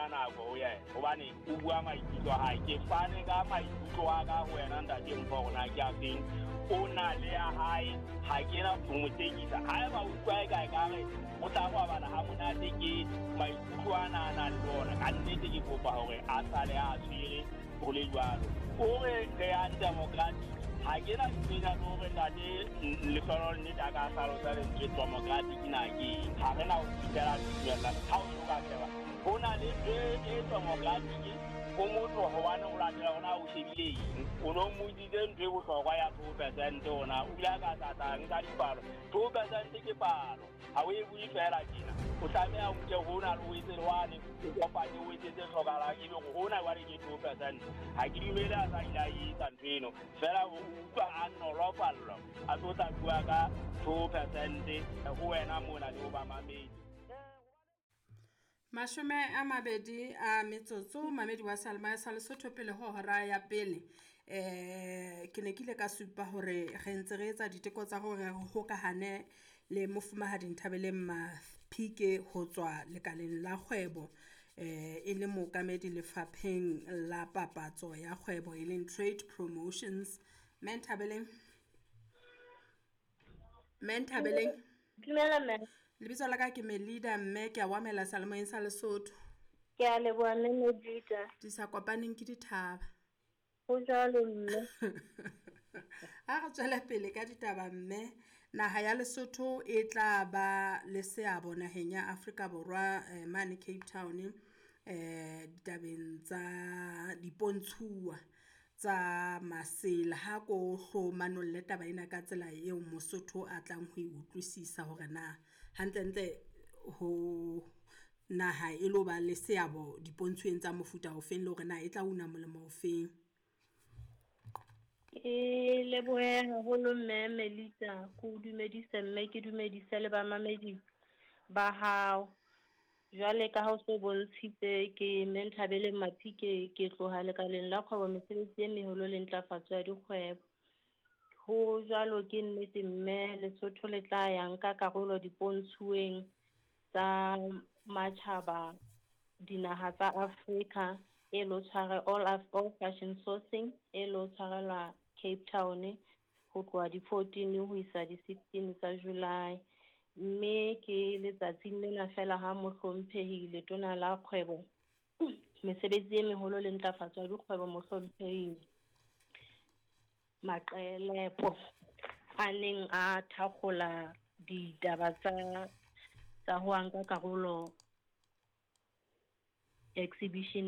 senya nako ho yena hobane o bua maikutlo a hae. Ke fane ka maikutlo a ka ho wena ntate Mpho hore na ke a feng. O na le ya hae, ha ke na ho mo tekisa. Haeba o utlwa e ka ekare o tla robala ha monate ke maikutlo ana a nang le ona, ka nnete ke kopa hore a sale a tshwere ho le jwalo. O re re yang democratic, ha ke na ntho le hore ntate Lehlohonolo nnete a ka hlalosa lentswe democratic na ke eng. Ha re na ho fihlela tumellano ha o so ka sheba ho na le ntho e democratic ho motho hobane o latela hore na o shebile eng. O no mmotsitse ntho e bohlokwa ya 2% hore na o ile a ka tla nka dipalo. 2% ke palo, ha o e bue fela tjena. O tlameha o nke hona le o etse le wane, o kopanye o etse tse hlokahalang, ebe hore hona jwale ke 2%. Ha ke dumele a sa ile a etsa ntho eno, fela o utlwa a nolofallwa a tlo tla bua ka 2% ho wena mona le ho bamamedi. 20 a metsotso mamedi wa Salma sa Lesotho pele ho hora ya pele. Ke ne ke ile ka supa hore re ntse re etsa diteko tsa hore re hokahane le mofumahadi Nthabeleng Maphike ho tswa lekaleng la kgwebo, e le mookamedi lefapheng la papatso ya kgwebo e leng Trade Promotions. Mme Nthabeleng, Mme Nthabeleng. Dumela mme. Lebitso la ka ke Melida mme ke a o amohela seyalemoyeng sa Lesotho. Ke a leboha mme Melida. Di sa kopaneng ke dithaba. Ho jwalo mme. Ha re tswele pele ka ditaba mme, naha ya Lesotho e tla ba le seabo naheng ya Afrika Borwa mane Cape Town, ditabeng tsa dipontshuwa tsa masela. Ha ko hlo manolle taba ena ka tsela eo Mosotho a tlang ho e utlwisisa hore na hantlentle ho naha e lo ba le seabo dipontshweng tsa mofuta ofeng, le hore na e tla una molemo ofeng. Ke lebohe haholo mme Melita, ke o dumedise mme ke dumedise le bamamedi ba hao. Jwale ka ha o so bontshitse, ke mme Nthabeleng Maphike, ke tloha lekaleng la kgwebo mesebetsi e meholo le ntlafatso ya dikgwebo. Ho jwalo ke nnete mme Lesotho le tla ya nka karolo dipontshuweng tsa matjhaba dinaha tsa Afrika e lo tshware all fashion sourcing e lo tshwarelwa Cape Town ho tloha di 14 ho isa di 16 tsa July. Mme ke letsatsing lena fela ha mohlomphehi letona la kgwebo mesebetsi e meholo le ntlafatso ya dikgwebo mohlomphehi Maqelepo a neng a thakgola ditaba tsa ho nka karolo exhibition.